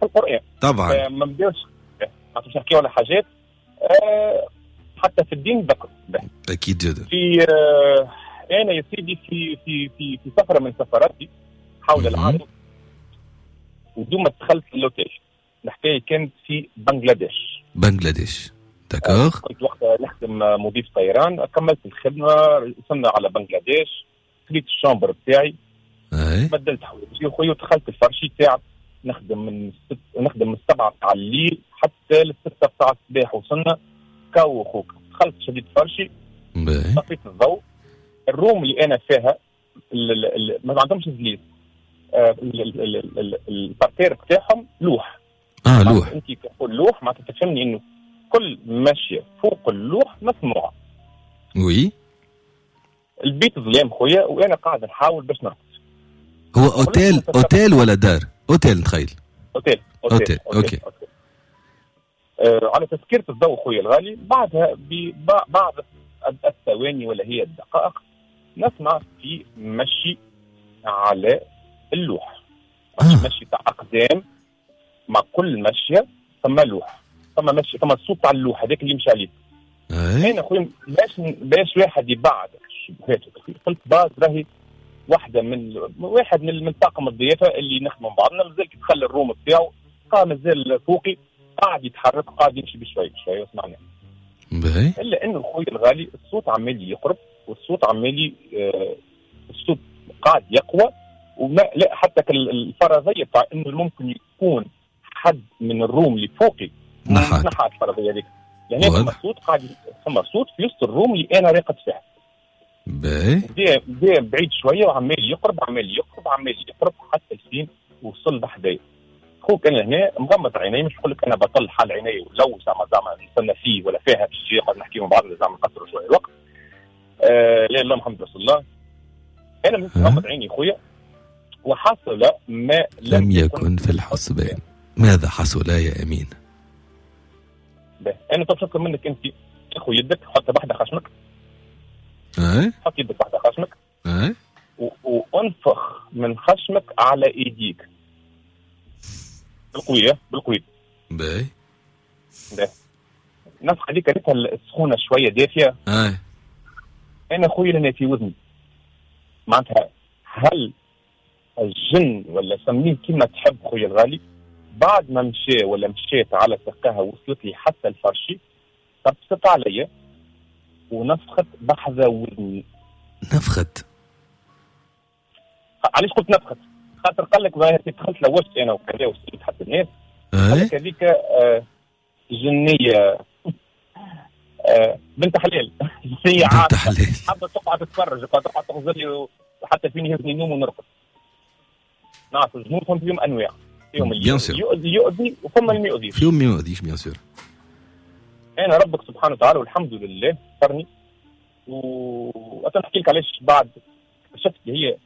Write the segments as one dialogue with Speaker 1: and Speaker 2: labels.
Speaker 1: في القران.
Speaker 2: طبعا
Speaker 1: ما نبداوش باش نحكيو على حاجات حتى في الدين ذكر.
Speaker 2: اكيد جدا.
Speaker 1: في انا يا سيدي في في في في سفره من سفراتي حول العالم، ودوما دخلت l'hôtel. الحكاية كانت في بنغلاديش.
Speaker 2: بنغلاديش، d'accord.
Speaker 1: كنت وقتها نخدم مضيف طيران، كملت الخدمة، وصلنا على بنغلاديش، خديت ال chambre بتاعي، بدلت حوايجي خويا ودخلت الفرشي تاعي. نخدم من 7 تاع الليل حتى ل6 تاع الصباح. وصلنا كاو خوك، دخلت شديت فرشي، طفيت الضوء. ال room اللي انا فيها ما عندهمش زليز، ال parterre بتاعهم لوح.
Speaker 2: لوح.
Speaker 1: انت تقول لوح معناتها تفهمني انه كل ماشية فوق اللوح مسموعة.
Speaker 2: oui.
Speaker 1: البيت ظلام خويا وانا قاعد نحاول باش نرقد.
Speaker 2: هو hôtel hôtel ولا دار؟ اوتيل نتخيل.
Speaker 1: hôtel hôtel
Speaker 2: okay.
Speaker 1: على تسكيرة الضوء خويا الغالي، بعدها ببعض الثواني ولا هي الدقائق نسمع في مشي على اللوح. مشي تاع اقدام، مع كل مشيه ثم لوح، ثم مشي، ثم الصوت تاع اللوح هذاك اللي يمشي عليه. انا خويا باش واحد يبعد الشبهات، قلت باز راهي واحدة من واحد من طاقم الضيافة اللي نخدموا مع بعضنا، مازال كي دخل ال room بتاعه قام مازال فوقي قاعد يتحرك، قاعد يمشي بشوي بشوي وسمعنا. الا انه خويا الغالي الصوت عمال يقرب، والصوت عمال الصوت قاعد يقوى، وما لا حتى الفرضية بتاع انه ممكن يكون حد من ال room اللي فوقي نحات الفرضية هذيك. يعني ثم صوت قاعد، ثم صوت في وسط ال room اللي انا راقد فيها. باهي بعيد شوية وعمال يقرب عمال يقرب عمال يقرب حتى الفين وصل بحدايا. خوك انا هنا مغمض عيني، مش نقول لك انا بطل حال عيني ولو زعما زعما نستنى فيه ولا فيها باش يجي يقعد نحكي مع بعضنا زعما نقصروا شوية الوقت. لا اله محمد رسول الله. انا مغمض عيني خويا، وحصل ما
Speaker 2: لم يكن في الحسبان. ماذا حصل يا امين؟
Speaker 1: انا تفكر منك انت تاخذ يدك حط بحدا خشمك. حط يدك بحدا خشمك. وانفخ من خشمك على ايديك بالقويه بالقويه.
Speaker 2: باهي.
Speaker 1: نفخ هذيك ريتها السخونه شوية دافيه. انا خويا لنا في وذني معناتها هل الجن ولا سميه كيما تحب خويا الغالي، بعد ما مشى ولا مشيت على سقاها وصلت لي حتى الفرشي، طبست عليا ونفخت بحذا وذني.
Speaker 2: نفخت؟
Speaker 1: علاش قلت نفخت؟ خاطر قال لك دخلت لوجت انا وكذا وصلت حتى الناس. قال لك هذيك جنيه بنت حلال. جنيه عارفه حابة تقعد تتفرج، تقعد تغزر لي حتى فيني يهزني النوم ونرقد. نعرف الجنون فهم فيهم انواع، فيهم اللي يؤذي وفما اللي ما يؤذيش.
Speaker 2: فيهم ما يؤذيش bien sûr.
Speaker 1: انا ربك سبحانه وتعالى والحمد لله سترني. نحكي لك علاش بعد شفت هي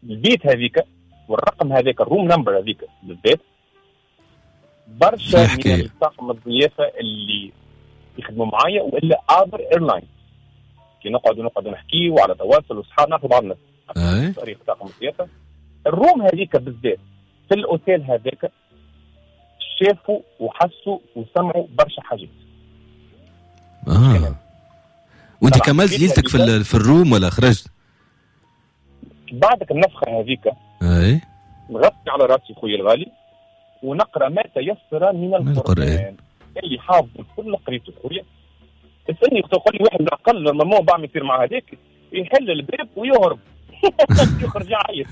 Speaker 1: البيت هذيك والرقم هذاك ال room number هذيك بالذات، برشا من طاقم الضيافة اللي يخدموا معايا والا other airline كي نقعدوا نحكي وعلى تواصل وصحاب نعرفوا بعضنا طريق طاقم الضيافة. ال room هذيك بالذات في الاوتيل هذاك شافوا وحسوا وسمعوا برشا حاجات.
Speaker 2: وانت كملت ليلتك في ال room ولا خرجت؟
Speaker 1: بعدك النفخة هذيك نغطي على راسي خويا الغالي ونقرا ما تيسر من القران اللي حافظ كل قريته خويا. اسالني تقول لي واحد الاقل لما بعمل يصير مع هذاك يحل الباب ويهرب يخرج يعيط.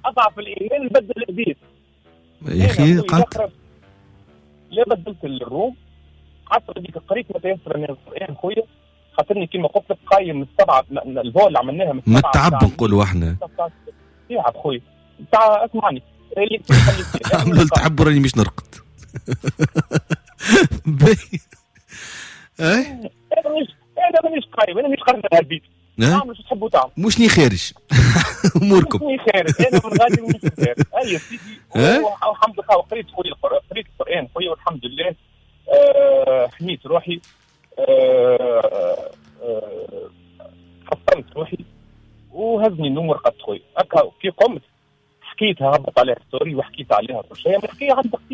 Speaker 1: اضعف الايمان نبدل البيت
Speaker 2: يا اخي. قعدت
Speaker 1: لا بدلت ال room، قعدت هذيك قريت ما تيسر من القران خويا، خاطرني كيما قلت لك قايم من السبعة ال vol اللي عملناها من
Speaker 2: السبعة. التعب نقولوا احنا
Speaker 1: تعب خويا. تاع اسمعني اللي
Speaker 2: عملوا التعب راني مش نرقد. باهي.
Speaker 1: انا مانيش قايم، انا مانيش خارج من البيت. نعمل شو تحبوا تعمل،
Speaker 2: مشني خارج اموركم،
Speaker 1: مشني خارج انا من غادي مانيش خارج. اي سيدي والحمد لله قريت خويا قريت القران خويا والحمد لله. حميت روحي، حصنت روحي وهزني النوم ورقدت خويا. هكا كي قمت حكيت لقيتها، هبط عليها story وحكيت عليها كل شيء، الحكاية عندها